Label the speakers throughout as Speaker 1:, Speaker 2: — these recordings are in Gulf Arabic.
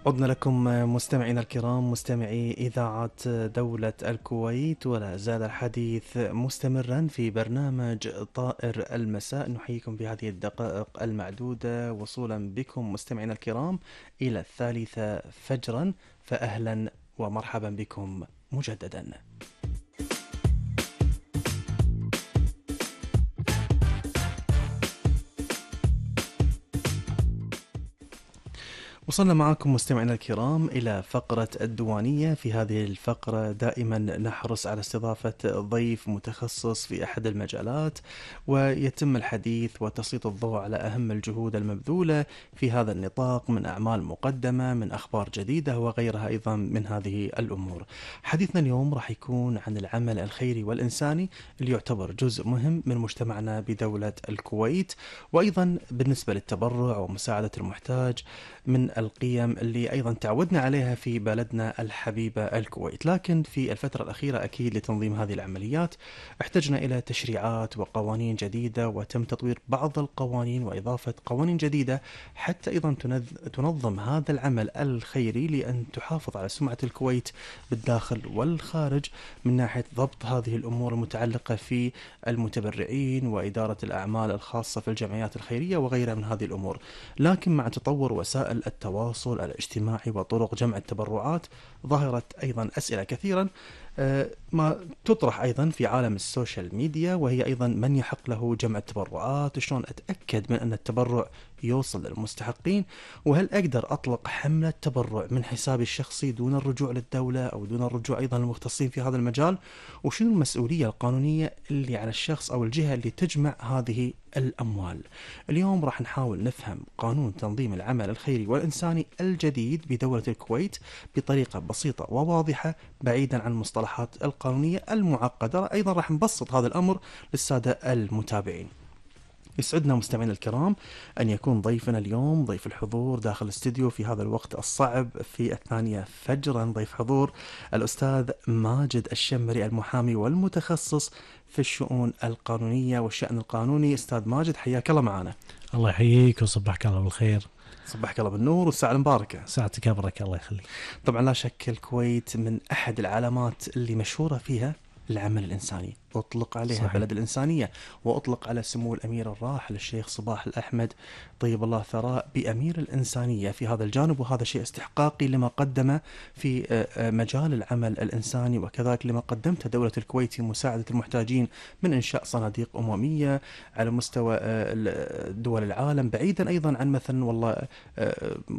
Speaker 1: عدنا لكم مستمعينا الكرام، مستمعي إذاعة دولة الكويت، ولا زال الحديث مستمرا في برنامج طائر المساء. نحييكم بهذه الدقائق المعدودة وصولا بكم مستمعينا الكرام إلى 3 فجرا، فأهلا ومرحبا بكم مجددا. وصلنا معكم مستمعينا الكرام إلى فقرة الديوانية. في هذه الفقرة دائما نحرص على استضافة ضيف متخصص في أحد المجالات، ويتم الحديث وتسليط الضوء على أهم الجهود المبذولة في هذا النطاق من أعمال مقدمة، من أخبار جديدة وغيرها أيضا من هذه الأمور. حديثنا اليوم راح يكون عن العمل الخيري والإنساني اللي يعتبر جزء مهم من مجتمعنا بدولة الكويت، وأيضا بالنسبة للتبرع ومساعدة المحتاج من القيم اللي أيضا تعودنا عليها في بلدنا الحبيبة الكويت. لكن في الفترة الأخيرة أكيد لتنظيم هذه العمليات احتجنا إلى تشريعات وقوانين جديدة، وتم تطوير بعض القوانين وإضافة قوانين جديدة حتى أيضا تنظم هذا العمل الخيري لأن تحافظ على سمعة الكويت بالداخل والخارج من ناحية ضبط هذه الأمور المتعلقة في المتبرعين وإدارة الأعمال الخاصة في الجمعيات الخيرية وغيرها من هذه الأمور. لكن مع تطور وسائل التواصل الاجتماعي وطرق جمع التبرعات ظهرت أيضا أسئلة كثيرا ما تطرح أيضا في عالم السوشيال ميديا، وهي أيضا من يحق له جمع التبرعات، شلون أتأكد من أن التبرع يوصل للمستحقين، وهل أقدر أطلق حملة تبرع من حسابي الشخصي دون الرجوع للدولة أو دون الرجوع أيضا للمختصين في هذا المجال، وشنو المسؤولية القانونية اللي على الشخص أو الجهة اللي تجمع هذه الأموال. اليوم راح نحاول نفهم قانون تنظيم العمل الخيري والإنساني الجديد بدولة الكويت بطريقة بسيطة وواضحة بعيدا عن المصطلحات القانونية المعقدة. أيضا راح نبسط هذا الأمر للسادة المتابعين. يسعدنا مستمعينا الكرام أن يكون ضيفنا اليوم ضيف الحضور داخل الاستديو في هذا الوقت الصعب في 2 فجرا، ضيف حضور الأستاذ ماجد الشمري، المحامي والمتخصص في الشؤون القانونية والشأن القانوني. أستاذ ماجد حياك الله معنا.
Speaker 2: الله يحييك وصبحك الله بالخير.
Speaker 1: صبحك الله بالنور والساعة المباركة.
Speaker 2: ساعتك أبرك الله يخليك.
Speaker 1: طبعا لا شك الكويت من أحد العلامات اللي مشهورة فيها العمل الإنساني، أطلق عليها صحيح. بلد الإنسانية، وأطلق على سمو الأمير الراحل الشيخ صباح الأحمد طيب الله ثراء بأمير الإنسانية في هذا الجانب، وهذا شيء استحقاقي لما قدمه في مجال العمل الإنساني، وكذلك لما قدمته دولة الكويت في مساعدة المحتاجين من إنشاء صناديق أممية على مستوى دول العالم، بعيدا أيضا عن مثلا والله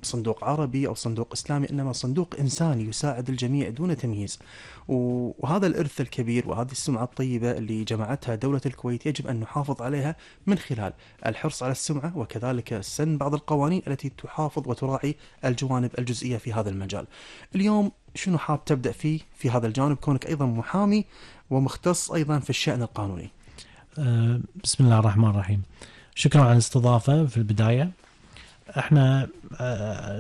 Speaker 1: صندوق عربي أو صندوق إسلامي، إنما صندوق إنساني يساعد الجميع دون تمييز. وهذا الإرث الكبير وهذه السمعة الطيبة اللي جمعتها دولة الكويت يجب أن نحافظ عليها من خلال الحرص على السمعة، وكذلك سن بعض القوانين التي تحافظ وتراعي الجوانب الجزئية في هذا المجال. اليوم شنو حاب تبدأ فيه في هذا الجانب كونك أيضا محامي ومختص أيضا في الشأن القانوني؟
Speaker 2: بسم الله الرحمن الرحيم. شكرا على الاستضافة. في البداية احنا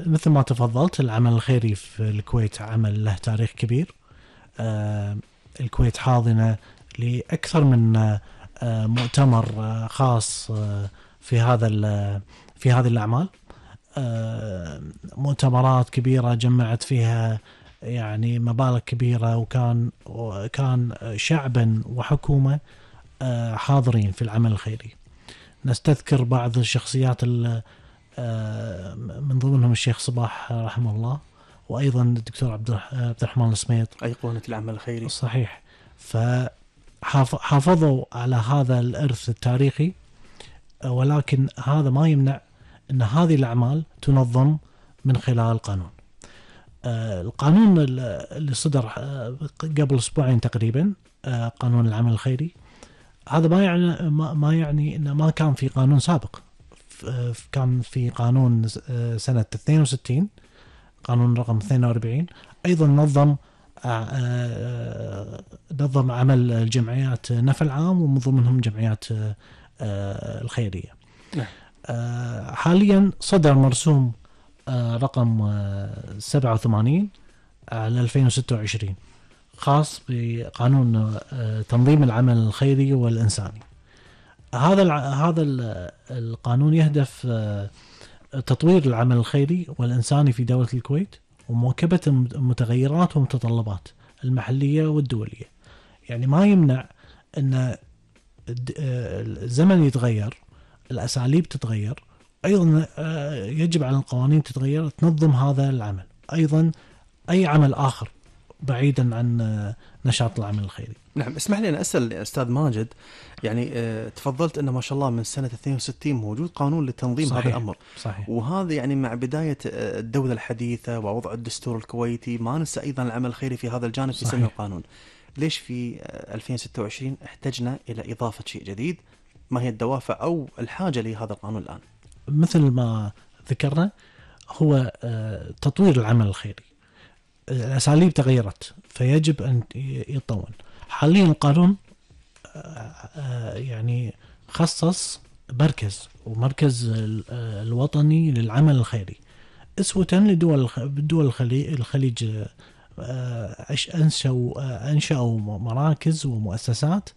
Speaker 2: مثل ما تفضلت العمل الخيري في الكويت عمل له تاريخ كبير. الكويت حاضنة لأكثر من مؤتمر خاص في هذه الأعمال، مؤتمرات كبيرة جمعت فيها يعني مبالغ كبيرة، وكان شعبا وحكومة حاضرين في العمل الخيري. نستذكر بعض الشخصيات من ضمنهم الشيخ صباح رحمه الله، وأيضا الدكتور عبد الرحمن السميط
Speaker 1: أيقونة العمل الخيري.
Speaker 2: صحيح. فحافظوا على هذا الإرث التاريخي، ولكن هذا ما يمنع أن هذه الأعمال تنظم من خلال القانون. القانون اللي صدر قبل أسبوعين تقريبا، قانون العمل الخيري، هذا ما يعني أن ما كان في قانون سابق. كان في قانون سنة 62، قانون رقم 42، أيضا نظم عمل الجمعيات نفع العام ومن ضمنهم جمعيات الخيرية. حاليا صدر مرسوم رقم 87 على 2026 خاص بقانون تنظيم العمل الخيري والإنساني. هذا القانون يهدف تطوير العمل الخيري والإنساني في دولة الكويت، ومواكبة المتغيرات والمتطلبات المحلية والدولية. يعني ما يمنع أن الزمن يتغير، الأساليب تتغير، أيضا يجب على القوانين تتغير تنظم هذا العمل، أيضا أي عمل آخر بعيدا عن نشاط العمل الخيري.
Speaker 1: نعم، اسمح لي أن أسأل أستاذ ماجد، يعني تفضلت أنه ما شاء الله من سنة 62 موجود قانون لتنظيم
Speaker 2: صحيح.
Speaker 1: هذا الأمر.
Speaker 2: صحيح.
Speaker 1: وهذا يعني مع بداية الدولة الحديثة ووضع الدستور الكويتي ما ننسى أيضا العمل الخيري في هذا الجانب في سن القانون. ليش في 2026 احتجنا إلى إضافة شيء جديد؟ ما هي الدوافع أو الحاجة لهذا القانون الآن؟
Speaker 2: مثل ما ذكرنا، هو تطوير العمل الخيري، الأساليب تغيرت فيجب أن يتطور. حاليا القانون يعني خصص مركز الوطني للعمل الخيري أسوة لدول الخليج. أنشأوا مراكز ومؤسسات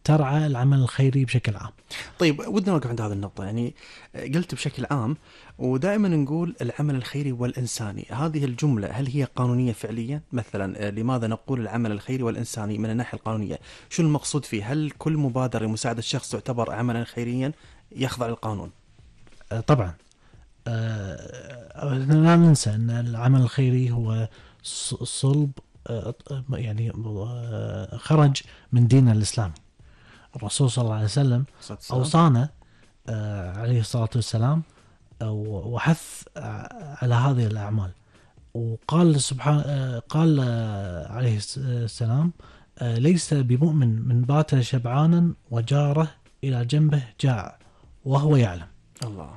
Speaker 2: ترعى العمل الخيري بشكل عام.
Speaker 1: طيب، ودنا نوقف عند هذه النقطة. يعني قلت بشكل عام، ودائما نقول العمل الخيري والإنساني، هذه الجملة هل هي قانونية فعليا؟ مثلا لماذا نقول العمل الخيري والإنساني من الناحية القانونية؟ شو المقصود فيه؟ هل كل مبادرة لمساعدة شخص تعتبر عملا خيريا يخضع للقانون؟
Speaker 2: طبعا. لا ننسى أن العمل الخيري هو صلب، يعني خرج من دين الإسلام. الرسول صلى الله عليه وسلم أوصانا عليه الصلاة والسلام وحث على هذه الأعمال، وقال قال عليه السلام: ليس بمؤمن من بات شبعانا وجاره إلى جنبه جاع وهو يعلم.
Speaker 1: الله،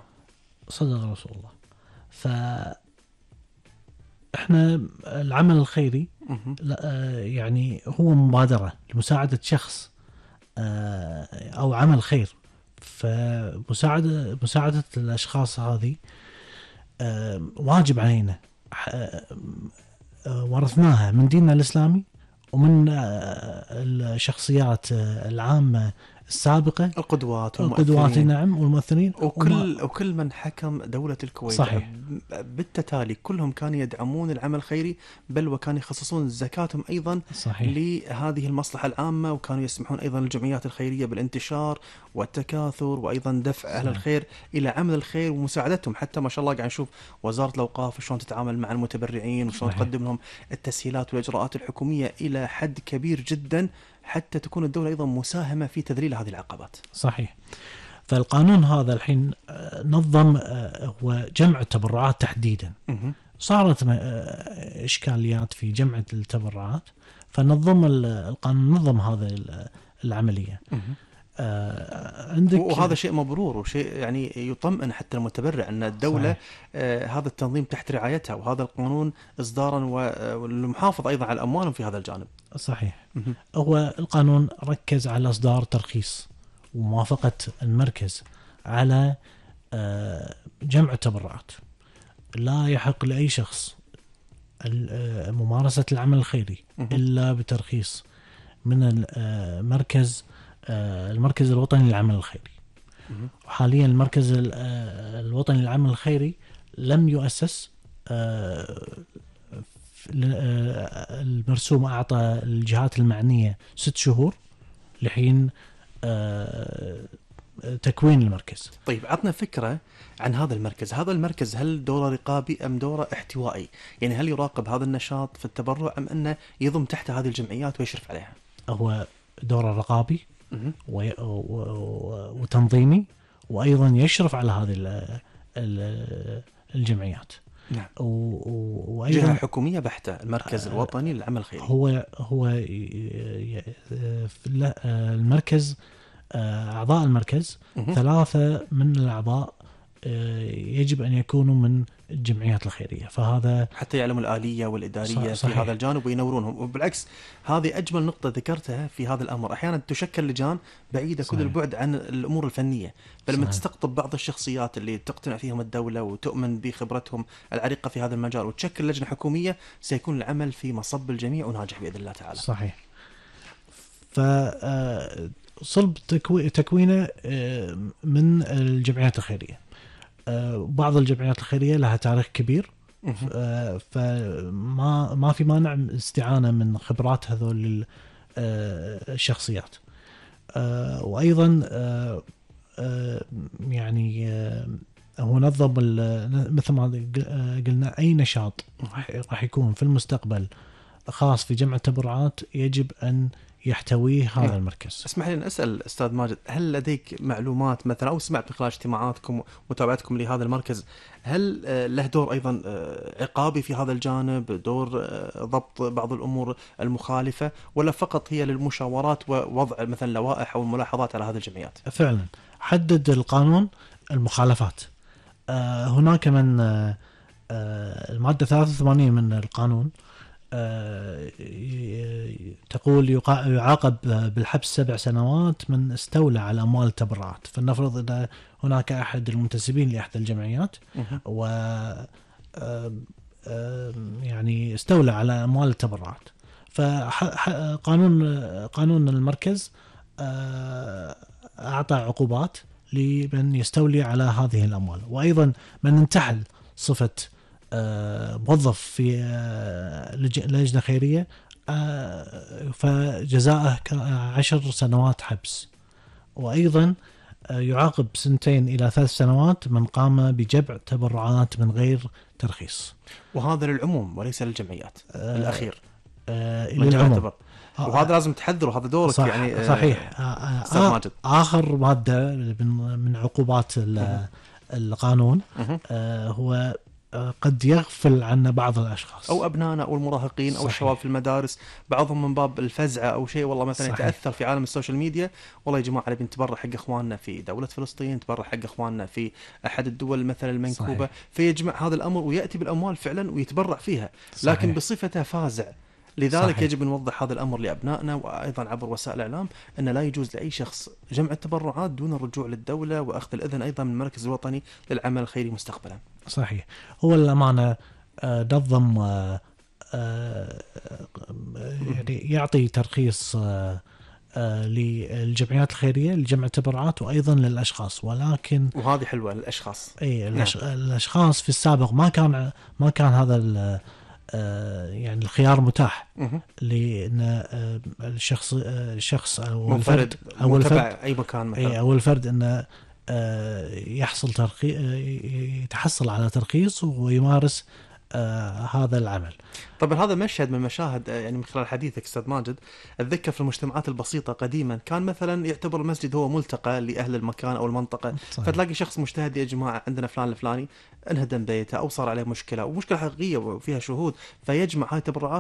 Speaker 2: صدق رسول الله. فإحنا العمل الخيري يعني هو مبادرة لمساعدة شخص أو عمل خير. فمساعدة الأشخاص هذه واجب علينا، ورثناها من ديننا الإسلامي ومن الشخصيات العامة السابقة، القدوات نعم، والمؤثرين،
Speaker 1: وكل من حكم دولة الكويت.
Speaker 2: صحيح.
Speaker 1: بالتالي كلهم كانوا يدعمون العمل الخيري، بل وكانوا يخصصون زكاتهم أيضا
Speaker 2: صحيح.
Speaker 1: لهذه المصلحة العامة، وكانوا يسمحون أيضا للجمعيات الخيرية بالانتشار والتكاثر، وأيضا دفع أهل الخير إلى عمل الخير ومساعدتهم. حتى ما شاء الله قاعد نشوف وزارة الأوقاف شلون تتعامل مع المتبرعين، وشلون تقدم لهم التسهيلات والإجراءات الحكومية إلى حد كبير جدا، حتى تكون الدولة أيضا مساهمة في تذليل هذه العقبات.
Speaker 2: صحيح. فالقانون هذا الحين نظم هو جمع التبرعات تحديدا. صارت إشكاليات في جمع التبرعات، فنظم القانون نظم هذا العملية.
Speaker 1: عندك، وهذا شيء مبرور وشيء يعني يطمئن حتى المتبرع أن الدولة هذا التنظيم تحت رعايتها، وهذا القانون إصدارا والمحافظة أيضا على أموالهم في هذا الجانب.
Speaker 2: صحيح. هو القانون ركز على إصدار ترخيص وموافقة المركز على جمع التبرعات. لا يحق لأي شخص ممارسة العمل الخيري إلا بترخيص من المركز الوطني للعمل الخيري. وحاليا المركز الوطني للعمل الخيري لم يؤسس. المرسوم أعطى الجهات المعنية 6 شهور لحين تكوين المركز.
Speaker 1: طيب، عطنا فكرة عن هذا المركز. هذا المركز هل دوره رقابي أم دوره احتوائي؟ يعني هل يراقب هذا النشاط في التبرع أم أنه يضم تحت هذه الجمعيات ويشرف عليها؟
Speaker 2: هو دوره رقابي وتنظيمي، وأيضا يشرف على هذه الجمعيات.
Speaker 1: نعم.
Speaker 2: وأيضا
Speaker 1: جهة حكومية بحتة، المركز الوطني للعمل الخيري.
Speaker 2: هو المركز، أعضاء المركز 3 من الأعضاء يجب أن يكونوا من الجمعيات الخيرية، فهذا
Speaker 1: حتى يعلموا الآلية والإدارية في هذا الجانب وينورونهم. وبالعكس هذه أجمل نقطة ذكرتها في هذا الأمر. أحيانا تشكل لجان بعيدة كل البعد عن الأمور الفنية، بل من تستقطب بعض الشخصيات اللي تقتنع فيهم الدولة وتؤمن بخبرتهم العريقة في هذا المجال وتشكل لجنة حكومية، سيكون العمل في مصب الجميع وناجح بإذن الله تعالى.
Speaker 2: صحيح. فصلب تكوينه من الجمعيات الخيرية. بعض الجمعيات الخيرية لها تاريخ كبير، فما في مانع استعانة من خبرات هذول الشخصيات. وأيضا يعني هو نظم مثل ما قلنا أي نشاط راح يكون في المستقبل خاص في جمع التبرعات يجب أن يحتويه هذا المركز.
Speaker 1: اسمح لي أن أسأل أستاذ ماجد، هل لديك معلومات مثلا أو سمعت من خلال اجتماعاتكم ومتابعتكم لهذا المركز، هل له دور أيضا عقابي في هذا الجانب، دور ضبط بعض الأمور المخالفة، ولا فقط هي للمشاورات ووضع مثلا لوائح أو الملاحظات على هذه الجمعيات؟
Speaker 2: فعلا حدد القانون المخالفات. هناك من المادة 83 من القانون تقول يعاقب بالحبس 7 سنوات من استولى على أموال التبرعات. فلنفرض أن هناك أحد المنتسبين لإحدى الجمعيات و يعني استولى على أموال التبرعات، فقانون المركز أعطى عقوبات لمن يستولي على هذه الأموال. وأيضا من انتحل صفة موظف في لجنة خيرية فجزاءه 10 سنوات حبس. وأيضا يعاقب 2 إلى 3 سنوات من قام بجمع تبرعات من غير ترخيص.
Speaker 1: وهذا للعموم وليس للجمعيات الأخير
Speaker 2: للعموم.
Speaker 1: وهذا لازم تحذره، هذا دورك يعني.
Speaker 2: صحيح. آخر مادة من عقوبات القانون هو قد يغفل عنا بعض الأشخاص
Speaker 1: أو أبنائنا أو المراهقين. صحيح. أو الشباب في المدارس، بعضهم من باب الفزعة أو شيء، والله مثلا صحيح. يتأثر في عالم السوشيال ميديا، والله يا جماعة نبي نتبرع حق إخواننا في دولة فلسطين، نتبرع حق إخواننا في أحد الدول مثلا المنكوبة. صحيح. فيجمع هذا الأمر ويأتي بالأموال فعلا ويتبرع فيها. صحيح. لكن بصفته فازع. لذلك صحيح. يجب أن نوضح هذا الأمر لأبنائنا، وأيضا عبر وسائل الإعلام أن لا يجوز لأي شخص جمع التبرعات دون الرجوع للدولة وأخذ الإذن أيضا من المركز الوطني للعمل الخيري مستقبلا.
Speaker 2: صحيح. هو الأمانة نظم يعني يعطي ترخيص للجمعيات الخيرية لجمع التبرعات وأيضا للأشخاص، ولكن
Speaker 1: وهذه حلوة للأشخاص.
Speaker 2: الأشخاص في السابق ما كان هذا يعني الخيار متاح، لأن الشخص أو الفرد
Speaker 1: أي مكان مثلا
Speaker 2: أو الفرد أنه يتحصل على ترخيص ويمارس هذا العمل.
Speaker 1: طبعا هذا مشهد من مشاهد يعني من خلال حديثك أستاذ ماجد. أتذكر في المجتمعات البسيطة قديما كان مثلا يعتبر المسجد هو ملتقى لأهل المكان أو المنطقة. صحيح. فتلاقي شخص مجتهد، يا جماعة عندنا فلان الفلاني انهدم بيته أو صار عليه مشكلة ومشكلة حقيقية وفيها شهود، فيجمع هاي التبرعات